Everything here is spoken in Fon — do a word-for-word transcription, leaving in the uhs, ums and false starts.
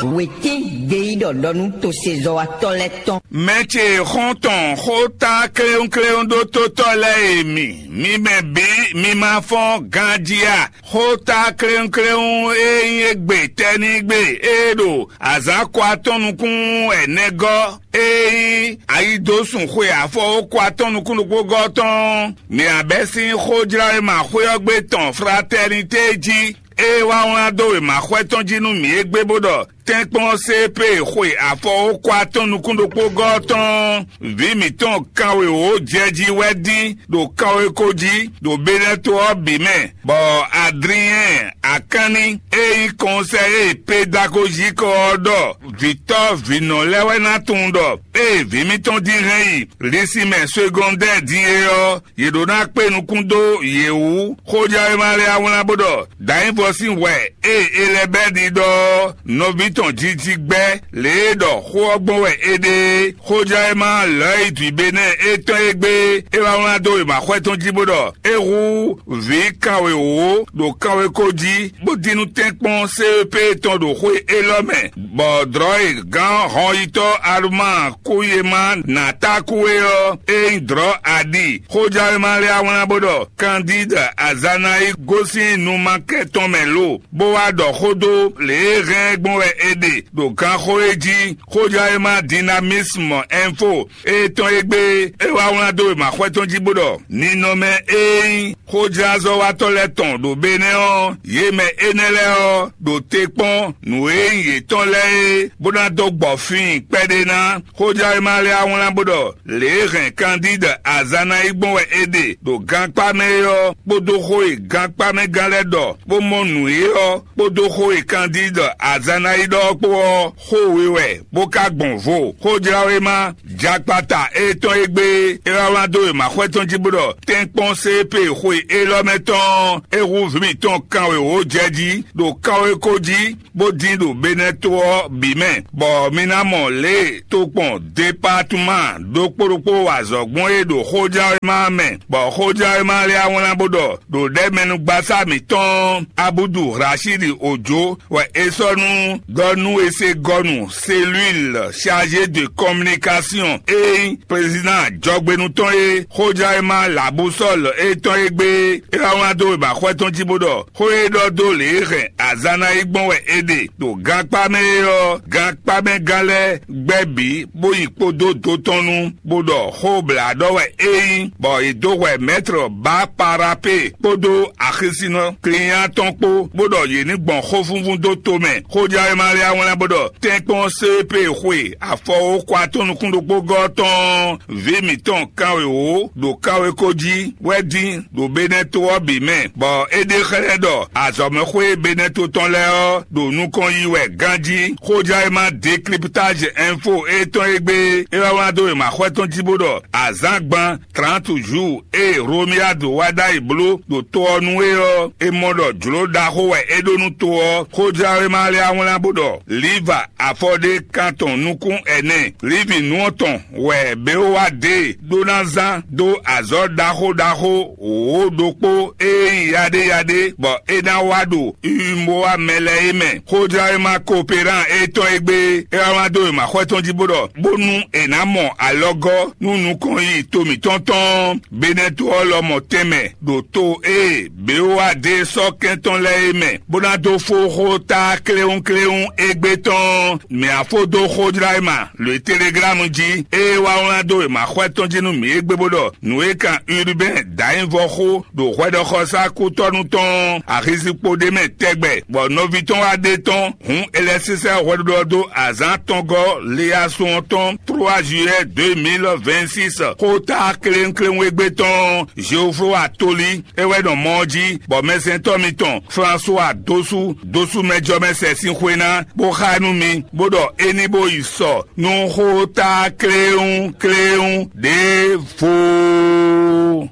Wětín gbeyíɖɔ ɖɔ nú tosezɔ́watɔ́ lɛ́ɛ tɔn. Mɛ ce xɔ́ntɔn xóta kléwúnkléwún ɖó tótɔ́ lɛ́ɛ e mi, mi mɛ bǐ mi ma fɔ́n ganjí a? Xóta kléwúnkléwún e nyí égbé tɛ́nígbe e ɖo azǎn kɔ atɔ́ nukún ɛnɛgɔ́, e nyí ayidosùn xwe afɔwókɔ atɔ́ nukúnnukúngɔ́ tɔn, mi abɛ́ sín xójlawéma xwé ɔ́ gbe tɔn Fratɛnité jí. Ée wá wlán dó wěmaxwɛ tɔn jí nú mǐ égbé bó ɖɔ tɛ́nkpɔ́n C P xwe afɔwókɔ atɔ́ nukún ɖokpó gɔ́ ɔ́ tɔn, vǐ mǐtɔn kanwewǒ jɛ jí wɛ dín ɖo kanweko jí ɖo Benɛto ɔ́ bǐ mɛ, bɔ Adriɛn Akanni e nyí kɔnsɛyé pedagojiko ɔ́ ɖɔ vǐtɔ́ vǐnɔ lɛ́ɛ wɛ ná tunwun ɖɔ ée vǐ mǐtɔn dín hɛn yi lisimɛ segɔndɛ́ din é ɔ́, yě ɖó ná kpé nukún dó yě wú. Xójɛwéma lɛ́ɛ wá wlán bó ɖɔ Dǎnyívɔ sín hwɛ e Elɛbɛ́di ɖɔ ɔ́, nɔví tɔn jiji gbɛ́ lě e ɖɔ xó ɔ́ gbɔn wɛ é ɖe é. Xójɛwéma Lɔ̌yidwǐbénɛ́ étɔn e gbé é wá wlán dó wěmaxwɛ tɔn jí bó ɖɔ é hú vǐ kanwewǒ ɖo kanweko jí, bó dín nú tɛ́nkpɔ́n C E P tɔn ɖo xwé élɔ́ mɛ, bɔ dlɔ̌ e gǎn hɔnyitɔ́ Aluma kú yé má nǎ tá kú é ɔ́, é nyí dlɔ̌ aɖi. Xójɛwéma lɛ́ɛ wá wlán bó ɖɔ Kandíd Azanayi gosín numakɛ tɔn mɛ lo, bó wá ɖɔ xó dó lě e hɛn ɛ gbɔn wɛ è ɖe ɖo ganxó é jí. Xójɛwéma Dinamismu Ɛnfo étɔn e gbé é wá wlán dó wěmaxwɛ tɔn jí bó ɖɔ ninɔmɛ e nyí xójázɔ́watɔ́ lɛ́ɛ tɔn ɖo Benɛ́ ɔ́, yě mɛ énɛ́ lɛ́ɛ ɔ́, ɖo te kpɔ́n nǔ e nyí yětɔn lɛ́ɛ é, bó ná dó gbɔ fíin kpɛɖé ná. Xójɛwéma lɛ́ɛ wá wlán bó ɖɔ lě e hɛn Kandíd Azanayi gbɔn wɛ è ɖe ɖo gankpá mɛ é ɔ́, kpódó xó e gankpámɛgán lɛ́ɛ ɖɔ bó mɔ nǔ é ɔ́, kpódó xó e Kandíd Azanayi ɖɔ ɔ́ kpó ɔ́, xó we wɛ, bó ka gbɔn vo. Xójlawéma jakpata étɔn e gbé é wá wlán dó wěmaxwɛ tɔn jí bó ɖɔ tɛ́nkpɔ́n C P xwe élɔ́ mɛ tɔn ɔ́, é hú vǐ mǐtɔn kanwewǒ jɛ jí ɖo kanweko jí, bó dín ɖo Benɛto ɔ́ bǐ mɛ, bɔ mi ná mɔ lě e tokpɔn depatuma ɖokpó ɖokpó wa azɔ̌ gbɔn é ɖo xójɛwéma ɔ́ mɛ, bɔ xójɛwéma lɛ́ɛ wá wlán bó ɖɔ ɖo ɖɛ̌mɛnugbasá mǐtɔn Abudu Rashidi Ojo wɛ è sɔ́ nú ɖɔ nú è se gɔ́ nu cellule chargé de communication e nyí président jɔgbénu tɔn e xójɛwéma labusɔ́l étɔn e gbé é wá wlán dó wěmaxwɛ tɔn jí bó ɖɔ xó e ɖɔ dó lě e hɛn azǎn ná yi gbɔn wɛ è ɖe ɖo gankpá mɛ é ɔ́, gankpámɛgán lɛ́ɛ gbɛ́ bǐ bó yi kpódó do tɔn nu, bó ɖɔ xó blǎ ɖɔ wɛ é nyí, bɔ è dó hwɛ mɛ̌tr Baparape kpódó axisinɔ Kliyán tɔn kpó, bó ɖɔ yě ní gbɔn xófúnfún dó tomɛ. Xójɛwéma lɛ́ɛ wlán bó ɖɔ tɛ́nkpɔ́n C P xwe afɔwóxwa tɔn nukún ɖokpó gɔ́ tɔn vǐ mǐtɔn kanwewǒ ɖo kanweko jí wɛ dín ɖo Benɛto ɔ́ bǐ mɛ, bɔ é ɖe xlɛ́ ɖɔ azɔ̌mɛxwé Benɛto tɔn lɛ́ɛ ɔ́ ɖo nukɔn yi wɛ ganjí. Xójɛwéma Décryptage Info étɔn e gbé é wá wlán dó wěmaxwɛ tɔn jí bó ɖɔ azǎngban trente jours e Romuald wá ɖ'ayǐ bló ɖo to ɔ́ nu é ɔ́, è mɔ ɖɔ jlǒ ɖaxó wɛ é ɖó nú to ɔ́. Xójɛwéma lɛ́ɛ wá wlán bó ɖɔ Liva afɔɖé kan tɔn nukún ɛnɛ, Livi nú ɔ́ tɔn wɛ Beowa ɖe ɖó ná zán dó azɔ̌ ɖaxó ɖaxó wǒ ɖokpó e nyí yaɖéyaɖé, bɔ é ná wá ɖo Umowa mɛ lɛ́ɛ é mɛ. Xójɛwéma Kooperán étɔn e gbé é wá wlán dó wěmaxwɛ tɔn jí bó ɖɔ bónú è nǎ mɔ alɔgɔ́ nú nukɔn yi to mǐtɔn tɔn Benɛto ɔ́ lɔmɔ̌ tɛnmɛ ɖo to e Beowa ɖe sɔ́ kɛn tɔn lɛ́ɛ é mɛ, bó ná dó fó xó ta kléwúnkléwún égbé tɔn. Mǐ á fó dó xójláyéma lǒ e Teleglámu jí, ée wá wlán dó wěmaxwɛ tɔn jí nú mǐ égbé bó ɖɔ nǔ e kan Urubɛ́n dǎnyívɔ xó ɖo hwɛɖɔxɔsá kútɔ́nú tɔn axizikpo ɖé mɛ tɛgbɛ, bɔ nɔví tɔn wá ɖe tɔn. Hǔn è lɛ́ sísɛ́ hwɛɖuɖɔ dó azǎn tɔngɔ́ Leyasun ɔ́ tɔn trois juillet deux mille vingt-six, xóta kléwúnkléwún égbé tɔn Jeoflówa Tolí é wɛ nɔ mɔ ɔ́ jí, bɔ mɛsɛntɔ́ mitɔn Flasuwa Dosu Dosu mɛjɔmɛ sɛ sín xwe ná, bó xá ɛ nú mi, bó ɖɔ é ní bó yi sɔ nú xóta kléwúnkléwún ɖěvo.